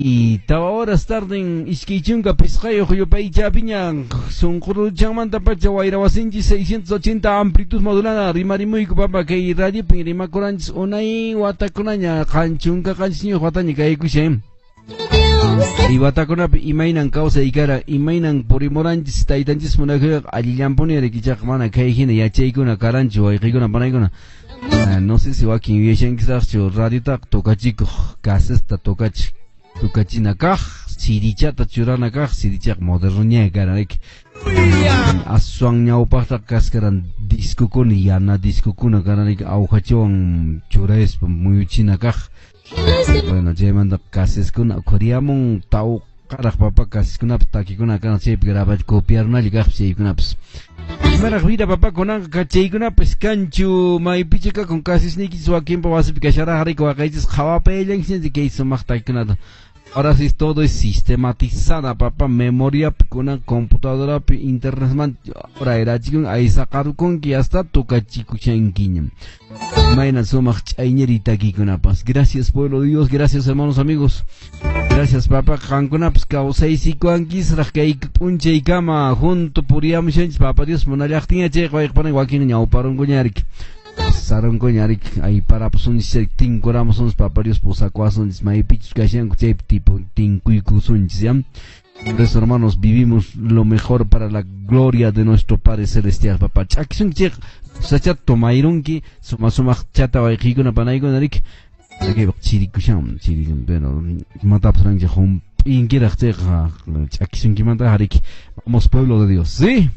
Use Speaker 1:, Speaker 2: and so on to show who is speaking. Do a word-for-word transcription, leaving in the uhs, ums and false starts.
Speaker 1: Y tawa horas tarden iskay chunka pisqayuq yupaychapiña sunquruchanmanta pacha wayra wasinchis seiscientos ochenta amplitud modulada rimarimuyku papa kay radiopin rimakuranchis unay watakunaña qanchunka qanchisñiyuq wataña kaykushan y watakunapi imaynan kawsay kara imaynan purimuranchis taytanchis munakuyqa allillanpuni ichaqa mana kay hina yachaykuna karanchu wayqiykuna panaykuna. No sé si wakin yuyashankisaqchu radiotaqa tocachikuq casesta tocachik tukachina kaq sirichata churana kaq sirichaqa modernoña karan riki aswan ñawpaqtaqa kaskaran discokuna yana discokuna karan riki awhachawan churaspa muyuchina kaq bueno chaymanta caseskuna ukhuriyamun tawqaraq papa caseskunapas takikuna karan chaypi grabach copiarunalla kaqpas chaykunapas imaraq vida papa kunanqa chaykunapas kanchu maypicha kakun casesniykichis wakinpa wasipi kasharaq riki waqaychis qhawapayallankichis kay sumaq takikunata. Ahora sí todo es sistematizada, papá, memoria kuna computadora internet man ahora era chikun ahí saqarukunki hasta tocachikuchankiña. Mayna sumaq ch'ayñeri takikunapas. Gracias pueblo de Dios, gracias hermanos amigos. Gracias papá, qankunapas kawsaysikuankisraq kay p'unchaykama junto puriyamushanchis papá Dios munallaqtinña chayqa wayqpanan wakin ñawparunkuña riki. Sarunkuña riki ayparapusunchis tinkuramusunchis papá Dios pusakuwasunchis maypichus kashanku chaypi tipo tinkuykusunchis ya. Por eso hermanos vivimos lo mejor para la gloria de nuestro Padre Celestial papá. Ch'akisunki chayqa sachata tomayrunki suma sumaq chata wayqiykuna panaykuna riki. Chirikushan chiri bueno imatapas ranchik hump'inkiraq chayqa ch'akisunkimanta riki. Vamos pueblo de Dios, ¿sí?